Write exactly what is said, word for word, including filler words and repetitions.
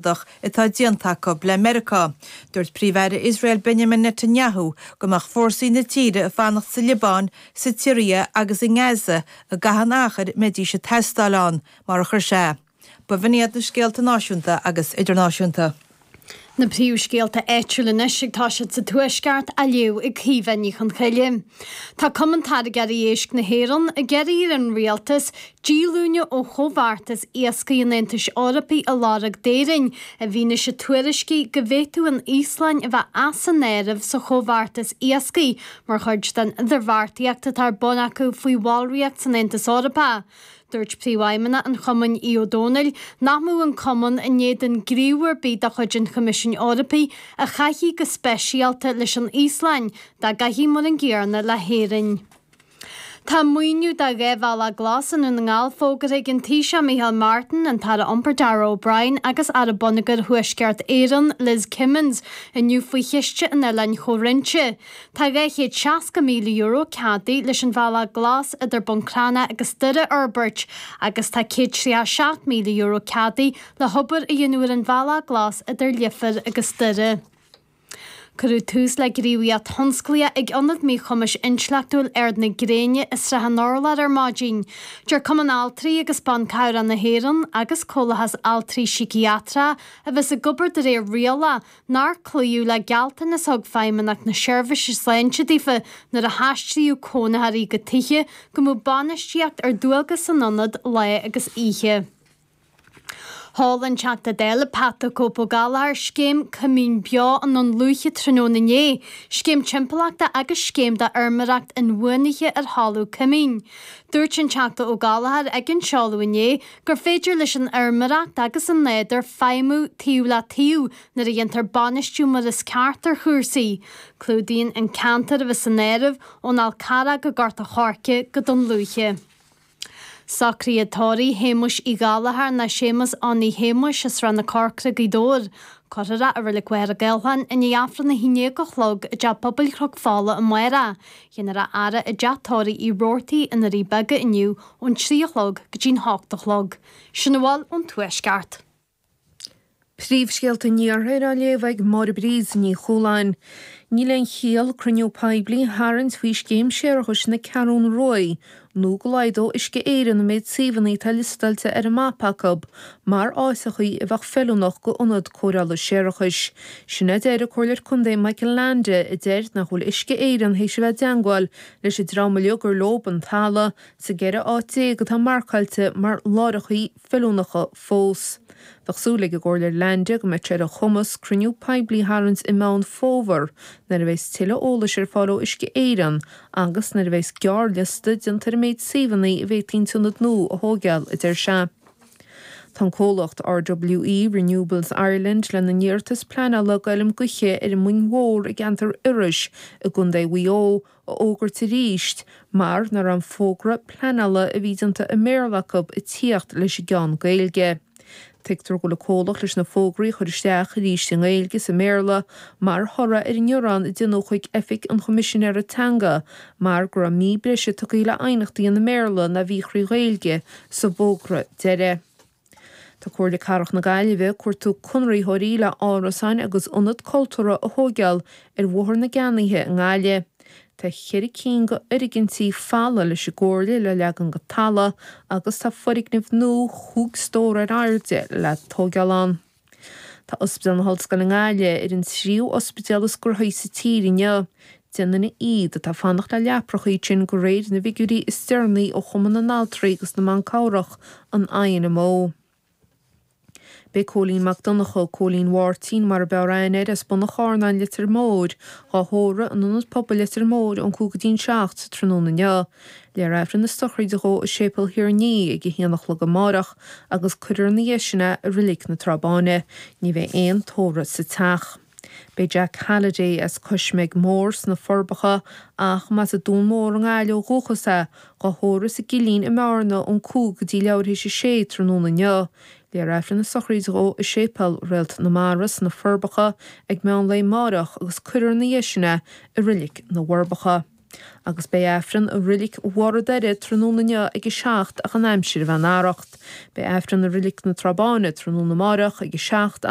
atá déanta acu le Meiriceá. Dúirt Príomh-Aire Iosrael Benjamin Netanyahu go mbeadh fórsaí na tíre ag fanacht sa Liobáin, sa tSiria agus i nGaza i gcaitheamh an achair a mbeidís ag teastáil ann, mar a chuir sé. B'in iad na scéalta náisiúnta agus idirnáisiúnta. Na príomhscéalta áitiúla anois ag toiseacht sa Tuaisceart á léamh ag Caoimhe Ní Chonchoille. Tá Cumann Táirgeoirí Éisc na hÉireann ag iarraidh ar an rialtas díolúine ó chomhbheartas iascaigh an Aontais Eorpaigh a lorg d'Éirinn i bhfianaise tuairiscí go bhféadfadh an Íoslainn a bheith as an áireamh sa chomhbheartas iascaigh mar chuid den idirbheartaíocht atá ar bun acu faoi bhallraíocht san Aontas Eorpach. Dúirt Príomhfheidhmeannach an Chumainn Aodh Ó Domhnaill nach mbeadh an cumann in éadan gníomh ar bith de chuid an Choimisiúin Eorpaigh a chaithfidh go speisialta leis an Íoslainn dá gcaithfí mar an gcéanna le hÉirinn. Tá maoiniú do dhá bhealach glas i nDún na nGall fógartha ag an Taoiseach Micheál Martin, an tAire Iompair Darragh O'Brien agus Aire Bonneagair Thuaisceart Éireann Liz Kimmins inniu faoi Chiste an Oileáin Chomhroinnte. Tá dhá chéad seasca míle euro ceadaithe leis an bhealach glas idir Bun Cranncha agus Doire a fhorbairt agus tá céad tríocha seacht míle euro ceadaithe le hobair a dhéanamh ar an bhealach glas idir Leifear agus Doire. Cuireadh tús le gníomhaíocht thionsclaíoch ag Ionad Míchumais Intleachtúil Ard na Gréine i Srath an Urláir ar maidin. Deir Cumann Altraí agus Ban Cabhrach na hÉireann agus Comhlachas Altraí Síciatrach a bheas ag obair de réir rialach nár cloíodh le gealltanas a thug Feidhmeannacht na Seirbhíse Sláinte daofa nuair a haistríodh cónaitheoirí go tithe go mbeadh bainistíocht ar dualgas san ionad lá agus oíche. Sheol an Teachta Dála Pat the Cope Ó Gallchóir scéim Coimín Beo i nDún Lúiche tráthnóna inné, scéim timpeallachta agus scéim d'fheirmeoireacht inbhuanaithe ar thalamh coimín. Dúirt an Teachta Ó Gallchóir ag an seoladh inné gur féidir leis an fheirmeoireacht agus an nádúr feidhmiú taobh le taobh nuair a dhéantar bainistiú mar is ceart ar chúrsaí. Clúdaíonn an ceantar a bheas san áireamh ón Fhál Carrach go Gort a' Choirce go Dún Lúiche. Socruithe tórraimh Shéamuis Uí Ghallchóir nó Séamus Annaí Shéamuis as Srath na Corcra, Gaoth Dobhair. Cuirfear é i Reilig Mhachaire Gathlán i ndiaidh Aifreann a haon déag a chlog i dTeach Pobail Chnoc Fola amárach. Déanfar a fhaire i dTeach Tórraimh Uí Robhartaigh i nDoirí Beaga inniu ón trí a chlog go dtí'n hocht a chlog. Sin a bhfuil ón Tuaisceart. Príomhscéalta an Iarthair á léamh ag Máire Bríd Ní Chualáin. Níl aon chiall cruinniú poiblí a tharraingt faoi scéim séarachais na Ceathrún Rua nó go laghdódh Uisce Éireann an méid suíomhanna atá liostáilte ar an mapa acu mar áiteachaí a bheadh feiliúnach go ionad cóireála séarachais. Sin a deir an Comhairleoir Contae Michael Leainde a deir nach bhfuil Uisce Éireann théis a bheith i dteangmháil leis an dream uilig gur leob an talamh sa gceithre áit déag atá marcáilte mar láithreachaí feiliúnacha fós. Bheadh súil ag an gComhairleoir Leainde go mbeidh sé ar a chumas cruinniú poiblí a tharraingt i Meán Fómhair nuair a bheas tuilleadh eolais ar fáil ó Uisce Éireann agus nuair a bheas gearrliosta déanta ar an méid suíomhanna a bhféadfaí an t-ionad nua a thóigeáil, a deir sé. Tá an comhlacht RWE Renewables Ireland lena n-iarratas pleanála d'fheilm gaoithe ar an Mhoing Mhór i gceantar Iorrais i gContae Mhaigh Eo a fhógairt arís mar nach raibh an fógra pleanála a bhí déanta i mBéarla acu ag tíocht leis an gceann Gaeilge. Tuigtear go bhfuil an comhlacht leis na fógraí a chur isteach arís i nGaeilge is i mBéarla mar thoradh ar an ngearán a déanadh chuig Oifig an Choimisinéara Teanga mar go raibh mí breise tugtha le aighneachtaí i mBéarla ná bhí trí Ghaeilge sa bhfógra deiridh. Tá Comhairle Cathrach na Gaillimhe ag cuartú conraitheoirí le árasáin agus ionad cultúrtha a thóigeáil ar Bhóthar na gCeannaithe i nGaillimh. Tá ceithre cinn de fhoirgintí folamh leis an gComhairle le leagan go talamh agus tá foirgneamh nua chúig stór ar airde le tóigeáil ann. Tá Ospidéal na hOllscoile i nGaillimh ar an tríú ospidéal is gnóthaí sa tír inniu. Deich nduine iad atá ag fanacht le leapracha iad sin de réir na bhfigiúirí is deireanaí ó Chumann na nAltraí agus na mBan Cabhrach, an INMO. Beidh Cóilín Mac Donncha, Cóilín Mháirtín mar a b'fhearr aithne air, as Bun an Charnáin, Leitir Móir, dhá thórramh in Ionad Pobail Leitir Móir ón cúig go dtí'n seacht sa tráthnóna inniu. Léifear Aifreann na sochraide dhó i Séipéal Thír an Fhia ag a haon a chlog amárach agus cuirfear ina dhiaidh sin é i Reilig na Trá Báine. Ní bheidh aon tórramh sa teach. Beidh Jack Halliday as Cois Meig Mór sna Forbacha ach más as Dún Mór i nGaillimh ó dhúchas é, dhá thórramh sa gCillín i mBearna ón cúig go dtí leathuair théis a sé tráthnóna inniu. Léifear Aifreann na sochraide dhó i Séipéal Réalt na Mara sna Forbacha ag meán lae amáireach agus cuirfear ina dhiaidh sin é i Reilig na bhForbacha. Agus beidh Aifreann i Reilig Bharr an Doire tráthnóna inniu ag a seacht ach an aimsir a bheith in arracht. Beidh Aifreann i Reilig na Trá Báine tráthnóna amáireach ag a seacht